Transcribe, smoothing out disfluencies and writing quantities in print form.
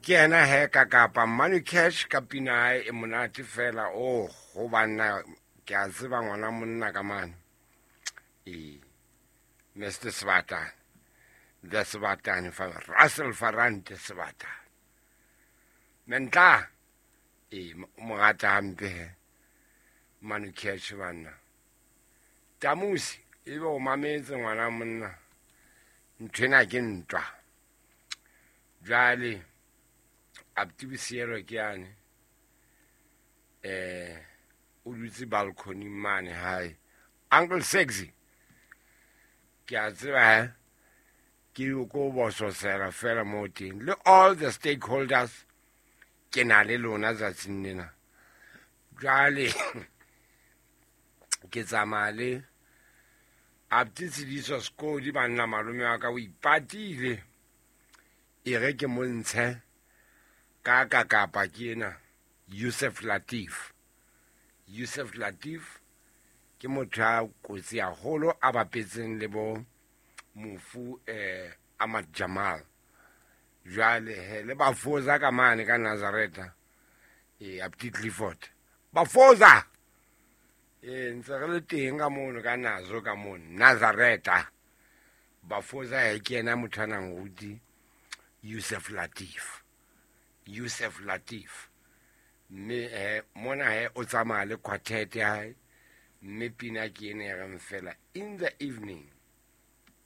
Ke yena he ka kapa Manu Cash ka pina hae e monate fela. Oh, ho banna ke a tseba ngwana monna ka mane. Ee, Mr Sebatane, the Sebatane fa Russell Farante Sebatane. Mentla ee, o mo rata hampe he Manu Cash banna. Tamusi ebe o mametse ngwana monna, nthwena ke ntwa. Jwale abuti Bosielo ke yane, o dutse balcony mane hae. Uncle Sexy ke a tseba he, ke ko bososela fela mo teng le all the stakeholders ke na le lona tsatsing lena. Jwale ke tsamaya le abuti Tshidiso Sekodi banna, malome wa ka o ipatile e re ke montshe ka ka kapa ke ena Yusuf Latif. Yusuf Latif ke motho a kotsi haholo a bapetseng le bo mofu Ahmad Jamal. Jwale he le Bafoza ka mane ka Nazareta, abuti Clifford Bafoza, ntse re le teng ka mono ka Nazo ka mono Nazareta. Bafoza he ke yena motho a nang ruti Yusuf Latif. Yusuf Latif mme mona he o tsamaya le quartet ya hae, mme pina ke ena e reng fela in the evening.